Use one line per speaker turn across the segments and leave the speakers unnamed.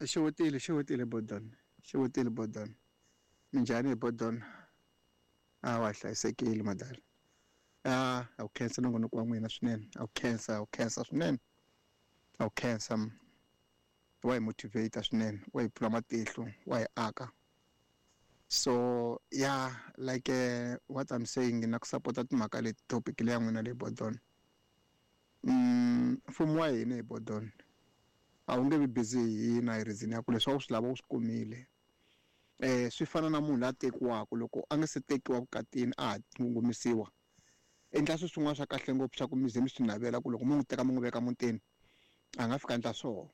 Xewetile xewetile Bodon xewetile Bodon minjhani hi Bodon a wa hlayisekile madala a a wu khensa nongonoko wa n'wina swinene a wu khensa a wu khensa swinene a wu khensa wa hi motivate swinene wa hi pfula matihlo wa hi aka so yeah like what I'm saying na ku sapota timhaka leti topic leya n'wina leyi Bodon mfumo wa hina hi Bodon a wu nge vi busy hi hina hi reason ya ku leswi a wu swi lava u swi kumile swi fana na munhu la tekiwaka loko a nga se tekiwa vukatini a ha ngomisiwa endla swilo swin'wana swa kahle ngopfu swa ku mi ze mi swi navela ku loko mi n'wi teka mi n'wi veka mutini a nga fika endla swona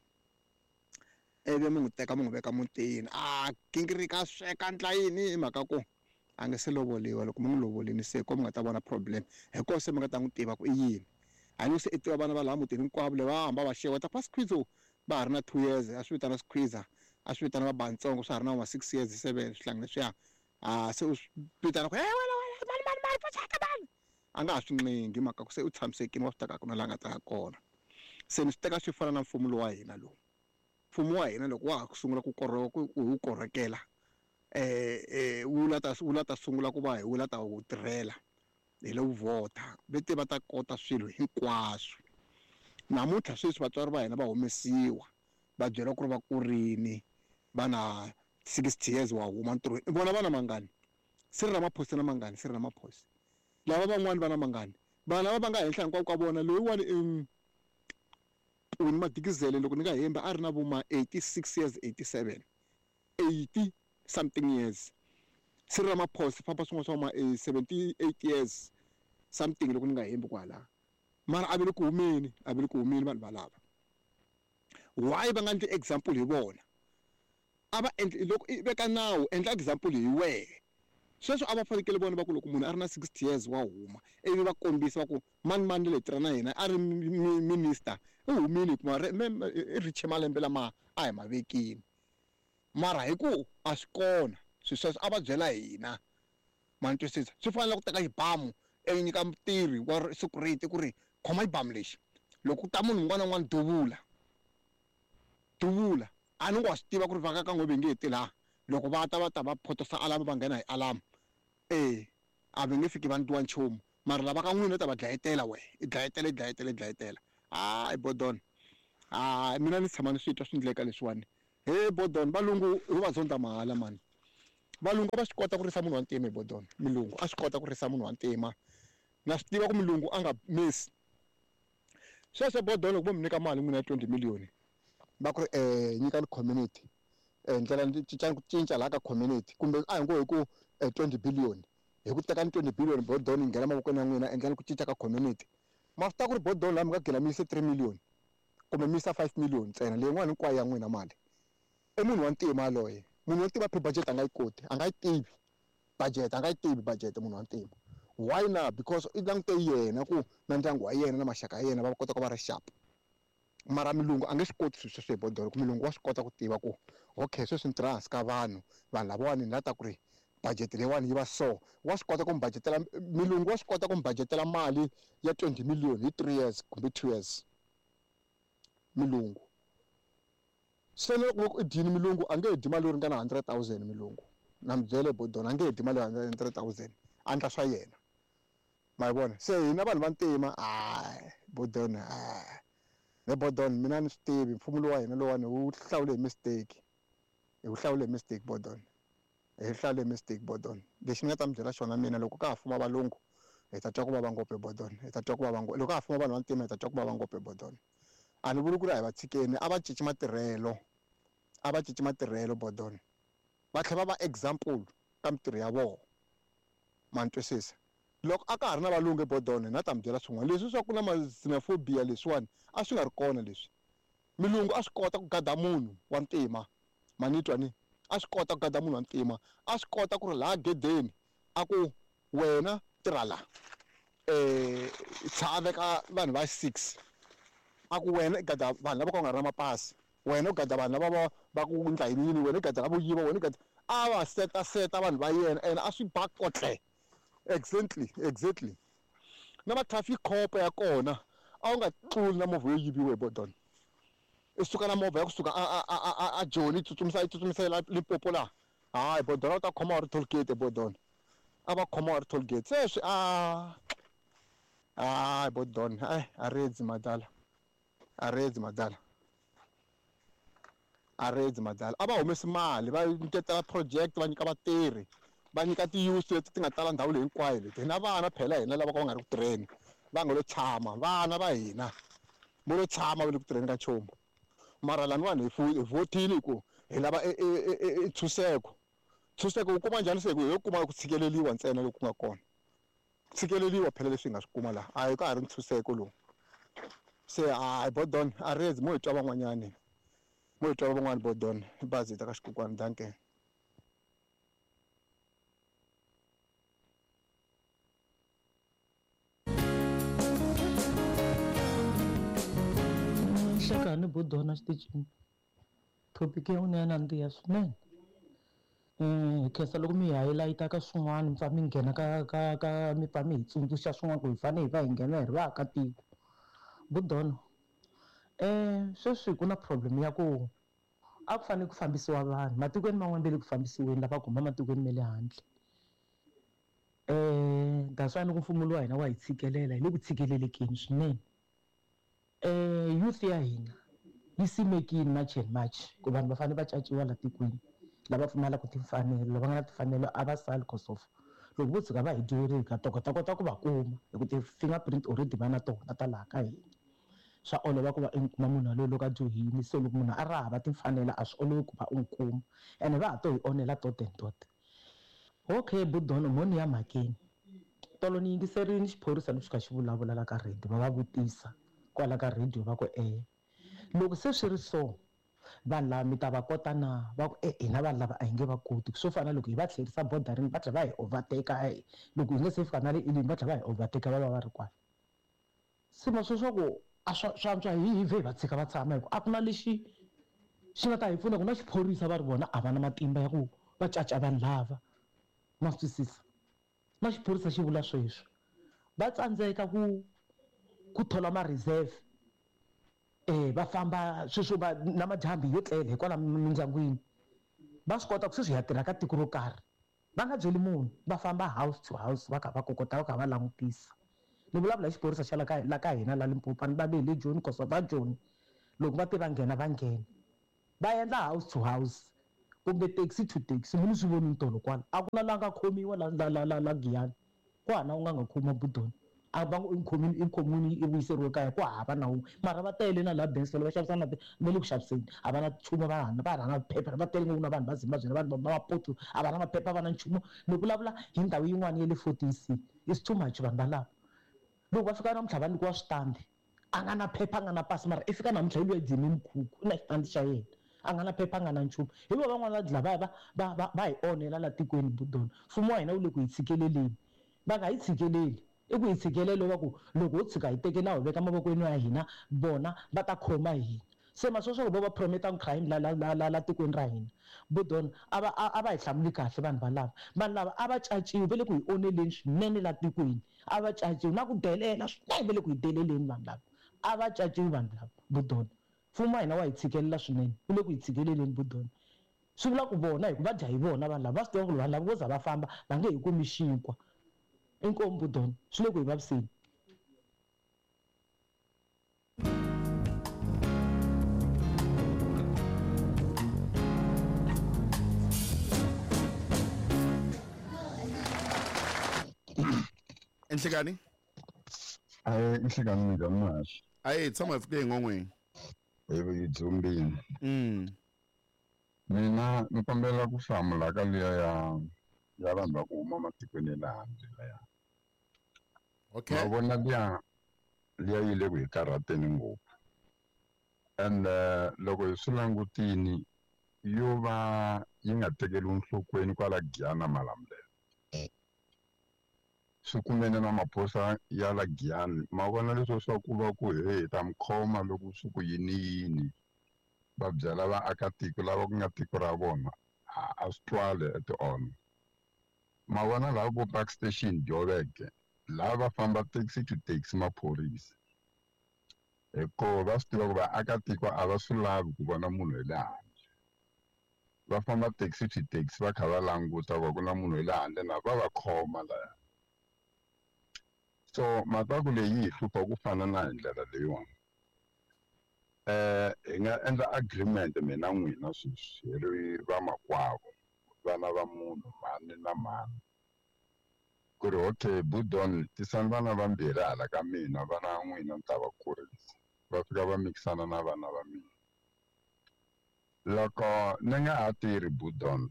ivi mi n'wi teka mi n'wi veka mutini a gingirika a sweka endla yini hi mhaka ku a nga se lovoliwa loko mi n'wi lovolini se ko mi nga ta vona problem hi koho se mi nga ta n'wi tiva ku i yini a ni se i tiva vana va laha mutini hinkwavo le va hamba va xeweta va skhwizo va ha ri na 2 years a swi vitana skhwiza a swi vitana va bantsongo swa ha ri na ma 6 years 7 swihlangi leswiya a se u swi vitana ku hey wena wena mani mani mani pfuxaka mani a nga ha swi nqinghi mhaka ku se u tshamisekile wa swi teka ku na laha nga ta ya kona se ni swi teka swi fana na mfumo lowa hina lowu mfumo wa hina loko wa ha ku sungula ku ku wu korhokela wu la ta wu la ta sungula ku va hi wu la ta wu tirhela hi lo vhota ve te va ta kota swilo hinkwaswo namuntlha sweswi vatswari va hina va humesiwa va byeriwa ku ri va kurini va na 60 years wa huma ntirhweni vona va na mangani Cyril Ramaphosa na mangani Cyril Ramaphosa lava van'wani va na mangani vanhu lava va nga henhla hinkwavo ka vona loyiwani i Winnie Madikizele loko ni nga hembi a ri na vo ma 86 years 87 80 something years Cyril Ramaphosa famba swin'wana swa ma 78 years something loko ni nga hembi kwala mara a ve le ku humeni a ve le ku humeni vanhu valava why va nga endli example hi vona a va endli loko i veka nawu endla example hi wehe sweswo a va fanekele vona va ku loko munhu a ri na 60 years wa huma ivi va kombisa va ku mani mani le tirha na yena a ri minister i humile hikuva i riche malembe lama a hi ma vekini mara hi ku a swi kona swilo sweswo a va byela hina ma ni twisisa swi fanele ku teka xibamu i nyika mutirhi wa security ku ri khoma xibamu lexi loko ku ta munhu un'wana na un'wana duvula duvula a ni ngo wa swi tiva ku ri va ka n'we ve nge ti laha loko va ta va ta va photosa alamu va nghena hi alamu e a va nge fiki va ndliwa nchumu mara lava ka n'wina u ta va dlayetela wehe i dlayetela i dlayetela i dlayetela hayi Bodon hayi mina ni tshama ni swi twa swi ndleka leswiwani he Bodon valungu ho va zonda mahala mani valungu a va swi kota ku risa munhu wa ntima hi Bodon mulungu a swi kota ku risa munhu wa ntima na swi tiva ku mulungu a nga miss sweswo Bodon loko vo mi nyika mali n'wina ya 20 million va ku ri nyikani community ndlela cincani ku cinca laha ka community kumbe a hi ngo hi ku 20 billion hi ku tekani 20 billion Bodon yi nghena mavokweni ya n'wina endlani ku cinca ka community ma swi tiva ku ri Bodon laha mi nga gina mi yise 3 million kumbe mi yisa 5 million ntsena leyin'wana hinkwayo ya n'wina mali i munhu wa ntima yaloye munhu wa ntima pre-budget a nga yi koti a nga yi tivi budget a nga yi tivi budget munhu wa ntima why na because i langute yena ku na ndyangu wa yena na maxaka ya yena va kota ku va ri sharp mara mulungu a nge swi koti swilo sweswo hi Bodon ku mulungu wa swi kota ku tiva ku okay sweswi ni tirha hansi ka vanhu vanhu lavawani ni la ta ku ri budget leyiwani yi va so wa swi kota ku mi budgetela mulungu wa swi kota ku mi budgetela mali ya 20 million hi 3 years kumbe 2 years mulungu se na loko i dyini mulungu a nge dyi mali yo ringana 100 000 mulungu na mi byele Bodon a nge dyi mali ya 100 000 a endla swa yena ma yi vona se hina vanhu va ntima hayi Bodon hayi ne Bodon mina ni swi tivi mfumo lowu wa hina lowani wu hlawule hi mistake hi wu hlawule hi mistake Bodon hi hlawule hi mistake Bodon lexi ni nga ta mi byela xona mina loko ka ha fuma valungu hi ta twa ku vava ngopfu hi Bodon hi ta twa ku vava ngopfu loko ka ha fuma vanhu va ntima hi ta twa ku vava ngopfu hi Bodon a ni vuli ku ri a hi va tshikeni a va cinci matirhelo a va cinci matirhelo Bodon va tlhela va va example ka mitirho ya vona ma ni twisisa loko a ka ha ri na valungu eBodon na ta mi byela swin'wana leswi swa ku na ma-xenophobia leswiwani a swi nga ri kona leswi mulungu a swi kota ku gada munhu wa ntima ma ni twa ni a swi kota ku gada munhu wa ntima a swi kota ku ri laha gedeni a ku wena tirha la tsha veka vanhu va 6 a ku wena i gada vanhu lava ka nga ri na mapasi wena u gada vanhu lava va va ku ndla yini yini wena i gada lavo yiva wena i gada a va seta seta vanhu va yena ene a swi ba kotle exactly exactly na ma traffic cop ya kona a wu nga tluli na movha yo yiviwa hi Bodon I suka na movha ya kusuka a Joni yi tsutsumisa yi tsutsumisela Limpopo laha. Hayi bodona u ta khoma wa ri toll gate bodona. A va khoma wa ri toll gate. Sweswi a hayi bodona ai a redzi madala. A redzi madala. A redzi madala. A va humesi mali va nyiketela project va nyika vatirhi. Va nyika ti-youth leti ti nga tala ndhawu leyi hinkwayo leti. Hina vana phela hina lava ka va nga ri ku tirheni. Va nga lo tshama vana va hina. Vo lo tshama va le ku tirheni ka nchumu. Mara laniwani hi vhotile hi ku hi lava e ntshunxeko. Ntshunxeko wu kuma njhani se hi ku hi kuma ku tshikeleriwa ntsena loku nga kona. Tshikeleriwa phela leswi hi nga swi kuma laha. A hi ka ha ri ntshunxeko lowu. Se hayi bodon a redzi mo hi twa van'wanyani. Mo hi twa van'wani bodon. Bazi ta ka xikokwani danke.
Nhlekani bodona xitichini topic ya n'wina ya nandziha swinene. Hi khensa loko mi hi highlight-a ka swin'wana mi pfa mi nghena ka ka ka mi pfa mi hi tsundzuxa swin'wana ku hi fanele hi va hi nghena hi ri vaakatiko. Budono sweswi ku na problem ya ku a ku fanele ku fambisiwa vanhu matikweni man'wana va le ku fambisiweni lava ku huma matikweni ma le handle. That's why ni ku mfumo lowa hina wa hi tshikelela hi le ku tshikelelekeni swinene. Youth ya hina yi simekile March and March ku vanhu va fanele va caciwa la tikweni lava pfumalaka timfanelo lava nga na timfanelo a va sali cause of loko vo tshuka va hi dyoherile ka ta kota ku va kuma hi ku ti-fingerprint already va na tona ta laha ka hina. Swa olova ku va i kuma munhu yaloye loko a dyohile se loko munhu a ri hava timfanelo a swi olovi ku va u n'wi kuma ene va ha to hi onhela tot and tot. Okay budono mo ni ya mhakeni tolo ni yingiserile xiphorisa lexi kha xi vulavula la ka radio va va vutisa kwala ka radio va ku loko se swi ri so vanhu lava mi ta va kota na va ku hina vanhu lava a hi nge va koti swo fana loko hi va tlherisa borderini va tlhela va hi overtake loko hi nga se fika na le Elim va tlhela va hi overtake va va va ri kwala. Se ma swo ku a swa swa antswa hi hi vhe hi va tshika va tshama hi ku a ku na lexi xi nga ta hi pfuna ku na xiphorisa va ri vona a va na matimba ya ku va caca vanhu lava ma swi twisisa. Na xiphorisa xi vula sweswo va tsandzeka ku thola ma-reserve va famba sweswo va na madyambu yo tlela hikwalaho mindyangwini va swi kota ku sweswi hi ya tirha ka tiko ro karhi va nga byeli munhu va famba house to house va kha va kokota va kha va langutisa. Ni vulavula hi xiphorisa xa la ka hina la Limpopo ni va ve le Joni cause va Joni loko va te va nghena va nghena va endla house to house kumbe taxi to taxi munhu swi vonile tolo kwala a ku na la nga khomiwa la la la la la Giyani ku hava na un'we a nga khomiwa budoni a va ngo i khomile i khomiwile i vuyiseriwe kaya ku hava na un'we mara va tele na la Benson va xavisa na va le ku xaviseni a va na nchumu va va rhanga phepha va tele ngopfu na vanhu va Zimbabwe na vanhu va Maputo a va na maphepha va na nchumu ni vulavula hi ndhawu yin'wana ya le 14C it's too much vanhu valava loko va fika namuntlha va nyikiwa switandi a nga na phepha a nga na pasi mara i fika namuntlha hi loyi dzime mikhukhu i na xitandi xa yena a nga na phepha a nga na nchumu hi vo van'wana va dla va va hi onhela la tikweni budona mfumo wa hina wu le ku hi tshikeleleni va nga hi tshikeleli i ku hi tshikelelo va ku loko ho tshuka hi teke nawu hi veka mavokweni ya hina vona va ta khoma hina se maswo swa ku vo va prometa crime la la la la la tikweni ra hina budona a va a va hi hlamuli kahle vanhu valava vanhu lava a va caciwi va le ku hi onheleni swinene la tikweni a va caciwi na ku delela swinene va le ku hi deleleni vanhu lava a va caciwi vanhu lava budona mfumo wa hina wa hi tshikelela swinene wu le ku hi tshikeleleni budona swi vula ku vona hi ku va dya hi vona vanhu lava va swi tiva ku vanhu lava vo za va famba va nge hi kumi xinkwa inkomu budona swi le ku hi vaviseni.
Enhlekani?
Ayi nhlekani minjhani Mahaxi?
Ayi tshama hi fike engon'weni.
Hi dzumbini. Mina ni kombela ku hlamula ka liya ya vanhu va ku huma matikweni ya le handle laya.
Okay.
Ma vona liya yi le ku hi karhateni ngopfu. And loko hi swi langutini yo va yi nga tekeriwi enhlokweni kwala Giyani na Malamulele. Swi kumene na maphorisa ya la Giyani ma vona leswo swa ku va ku he hi ta mi khoma loko swi ku yini yini va byela vaakatiko lava ku nga tiko ra vona a swi twali at all. Ma vona laha vo Park Station Joburg laha va famba taxi to taxi maphorisa. Hikuva va swi tiva ku vaakatiko a va swi lavi ku vona munhu hi le handle. Va famba taxi to taxi va kha va languta ku ku na munhu hi le handle na va va khoma laya. So mhaka ku leyi yi hi hlupha ku fana na hi ndlela leyiwani. Hi nga endla agreement mina n'wina sweswi hi ri vamakwavo, vana va munhu mhani na mhani. Ku ri okay Budon tisani vana vambirhi hala ka mina vana n'wina ni ta va kurisa. Va fika va mikisana na vana va mina. Loko ni nga ha tirhi Budon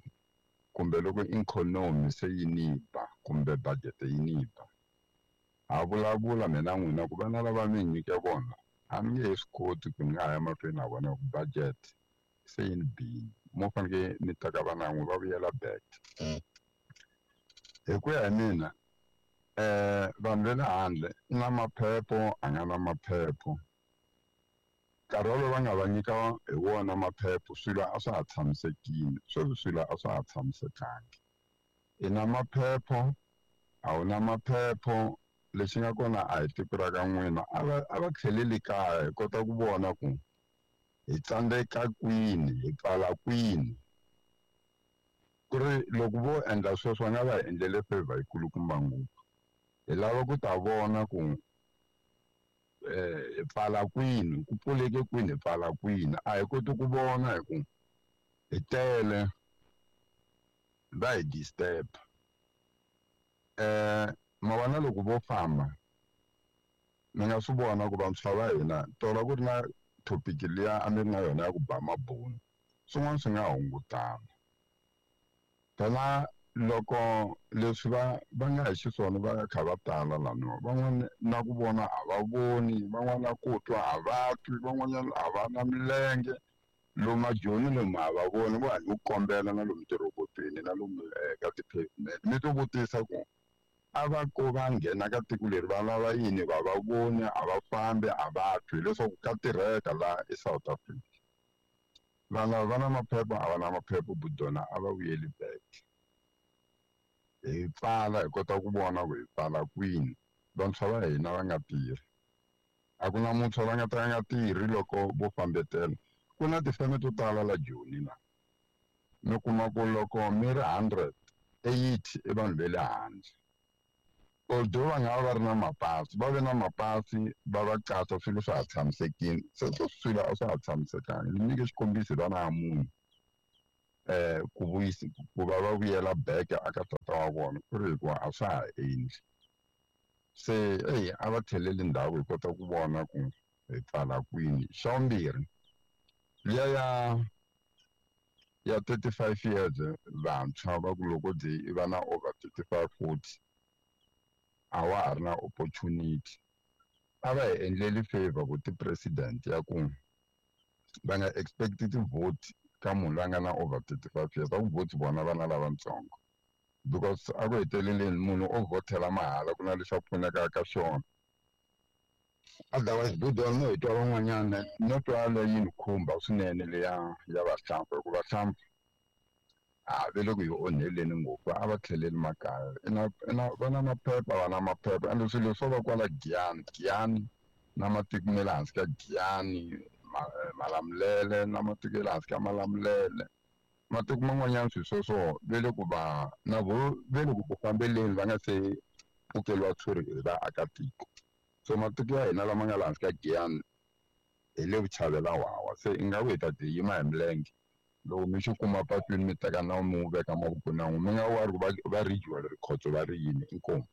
kumbe loko ikhonomi se yi ni ba kumbe budget yi ni ba, ha vulavula mina n'wina ku vana lava mi nyike vona a ni nge he swi koti ku ni nga ha ya mahlweni na vona hi ku budget se yi ni bile. Mo faneke ni teka vana n'we va vuyela back. Hi ku ya hi mina vanhu va le handle i na maphepho a nga na maphepho. Nkarhi wolowo va nga va nyika hi wona maphepho swilo a swa ha tshamisekile, sweswi swilo a swa ha tshamisekangi. I na maphepho a wu na maphepho lexi nga kona a hi tiko ra ka n'wina a va tlheleli kaya hi kota ku vona ku hi tsandzeka kwini hi pfala kwini. Ku ri loko vo endla sweswo va nga va hi endlele favor yi kulukumba ngopfu. Hi lava ku ta vona ku hi pfala kwini ku pfuleke kwini hi pfala kwini a hi koti ku vona hi ku hi tele va hi disturb. Ma vona loko vo famba mi nga swi vona ku vantshwa va hina tolo ku ri na topic liya a mi ri na yona ya ku ba mabunu swin'wana swi nga hungutana. Phela loko leswi va nga hi xiswona va kha va tala laniwa van'wani na ku vona a va voni van'wana na ku twa a va twi van'wanyana a va na milenge lomu majoni lomu a va voni vo hanyi ku kombela na lomu tirhobotweni na lomu ka ti-pavement mi to vutisa ku a va ko va nghena ka tiko leri va lava yini va va voni a va fambi a va twi hileswaku ka tirheka laha eSouth Africa. Vanhu lava va na maphepha a va na maphepha Budona a va vuyeli back. Hi pfala hi kota ku vona ku hi pfala kwini vantshwa va hina va nga tirhi. A ku na muntshwa va nga ta nga tirhi loko vo fambetela. Ku na tifeme to tala la Joni la. Mi kuma ku loko mi ri 100, 80 i vanhu va le handle. Although va nga va va ri na mapasi, va ve na mapasi va va qasha swilo swa ha tshamisekile. Se swilo a swa ha tshamisekanga. Ni nyike xikombiso hi vana va munhu ku vuyisa ku va va vuyela back aka tata wa vona ku ri hikuva a swa ha endli. Se eyi a va tlheleli ndhawu hi kota ku vona ku hi pfala kwini. Xa vumbirhi liya ya 35 years vantshwa va ku loko byi i va na over 35 40 a wa ha ri na opportunity. A va hi endleli favor ku ti-president ya ku va nga expect ti-vote ka munhu loyi a nga na over 35 years a ku vote vona vana lavatsongo because a ku heteleleni munhu o vhotela mahala ku na lexi a pfunekaka ka xona. Otherwise Budon no hi twa van'wanyana no twa leyi ni khumba swinene leya ya vahlampfa hikuva vahlampfa a ve le ku hi onheleni ngopfu a va tlheleli makaya ina va na maphepha va na maphepha ende swilo swo va kwala Giyani Giyani na matiko ma le hansi ka Giyani Malamulele na matiko ya le hansi ka Malamulele matiko man'wanyana swilo sweswo ve le ku va na vo ve le ku fambeleni va nga se pfukeliwa tshuri hi vaakatiko. So matiko ya hina lama nga le hansi ka Giyani hi le vuchavela wawa se ingaku hi ta ti yima hi milenge loko mi xi kuma patwini mi teka nawu mi wu veka mavokweni ya n'wina mi nga wari ku va regional rikhotso va ri yini inkomu.